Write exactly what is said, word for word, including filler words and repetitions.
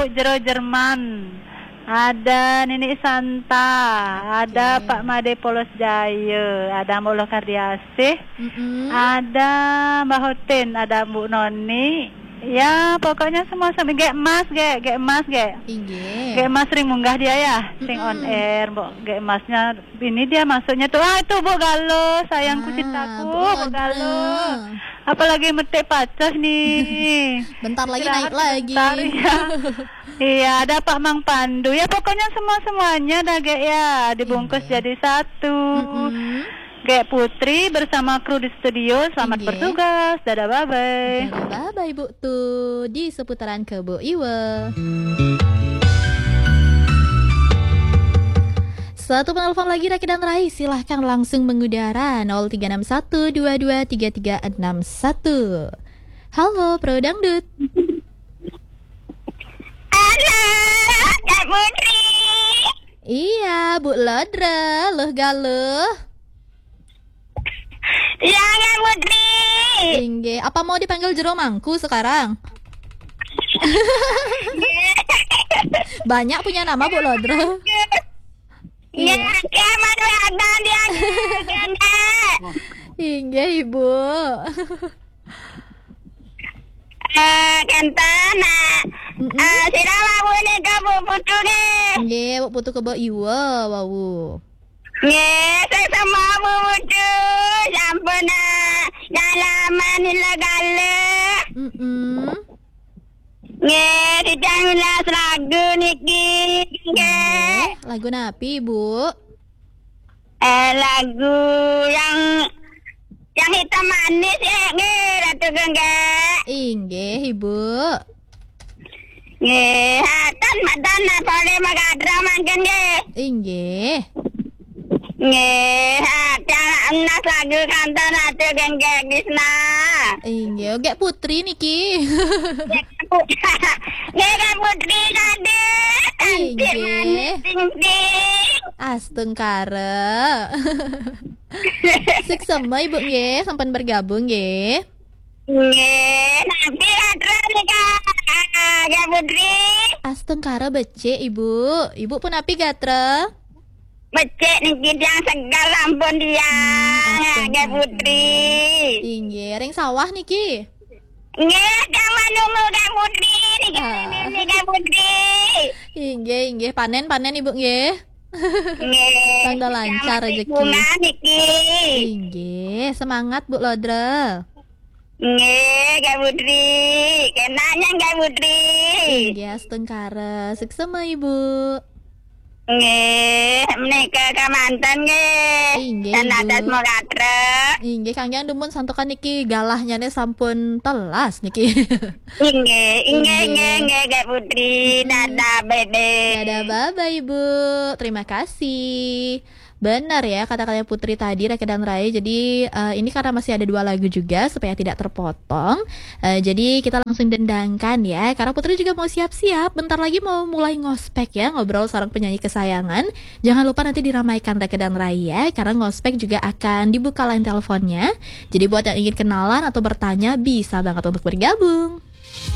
Jero Jerman. Ada Nini Santa, ada Oke. Pak Made Polos Jaya, ada Mbok Loh Kardiasih, Mm-mm. ada Mbah Hotin, ada Mbok Noni. Ya, pokoknya semua sama. Gek Mas, gek, gek Mas, gek. Inggih. Gek Mas ring munggah dia ya, sing on Mm-mm. air, Mbok. Gek Masnya ini dia masuknya tuh. Ah, itu Mbok Galo, sayangku Ah, cintaku, Mbok Mbok Galo. Galo. Apalagi metik pacah nih. Bentar lagi Istirahat naik lagi. sebentar, ya. Iya, ada Pak Mang Pandu. Ya, pokoknya semua-semuanya dah, Gek, ya. Dibungkus Inggih. jadi satu. Mm-mm. Gek Putri bersama kru di studio, selamat Inggih. bertugas. Dadah, bye-bye. Dadah, bye-bye, Bu. Tuh, di seputaran Kebo Iwa. Satu penelpon lagi, Raki dan Rai. Silahkan langsung mengudara, nol tiga enam satu dua dua tiga tiga enam satu. Halo, Pro Dangdut. Halo, Kak Putri. Iya, Bu Lodra, Loh Galo. Iya, Kak Putri. Inggih, apa mau dipanggil Jero Mangku sekarang? Banyak punya nama, Bu Lodra. Iya, Iya. Kak, Madu Adan dia, Kak. Inggih, Ibu. Eh, kenten, nah. Mm-mm. Eh, sira wau nika Bu Putu nggih. Nggih, Bu Putu Kebo Iwa wau. Nggih, sing semua Bu Putu. Sampun, nah, dalaman ila gale. Mm-mm. Nggih, titah milas lagu niki. Nggih. Nggih, lagu napi, Bu? Eh, lagu yang, yang hitam manis, ya, nggih, Ratu Genggek. Inggih, Ibu. Nggih, haten matan boleh magadra mangkin, nggih. Inggih. Nggih, haten nas lagu kantor Ratu Genggek Disna. Inggih, Gek Putri niki. Nggih, Kak Putri tadi. Cantik Inggih. manis ting-ting. Astungkara. Suksma, Ibu, nggih, sampun bergabung, nggih. Nggih, napi gatra nika, Kak Putri? Astungkara becik, Ibu. Ibu pun napi gatra? Becik niki tiang segar sampun tiang, Hmm, Kak astungkara. Putri. Inggih, ring sawah niki? Nggih, tiang manunggu Kak Putri niki, Ah. niki Kak Putri. Inggih, inggih. Panen, panen, Ibu, nggih. Nggih. Tanggal Tiang lancar masih rezeki. bunga niki. Inggih, semangat, Bu Lodra. Nggih, Kak Putri. Kenanya, Kak Putri. Inggih, astungkara. Suksma, Ibu. Nggih, menika kamanten nggih. Inggih, Dan Ibu. atas mau gatra. Inggih, kangge dumun santukan niki galahnya ne sampun telas niki. Inggih, inggih, Inggih. inggih, inggih, Kak Putri. Mm-mm. Dadah, bebe. Dadah, bye-bye, Ibu. Terima kasih. Benar ya, kata-katanya Putri tadi, Rake dan Rai. Jadi, eh, ini karena masih ada dua lagu juga, supaya tidak terpotong. Eh, jadi, kita langsung dendangkan ya. Karena Putri juga mau siap-siap. Bentar lagi mau mulai ngospek ya, ngobrol seorang penyanyi kesayangan. Jangan lupa nanti diramaikan Rake dan Rai ya, karena ngospek juga akan dibuka line teleponnya. Jadi, buat yang ingin kenalan atau bertanya, bisa banget untuk bergabung.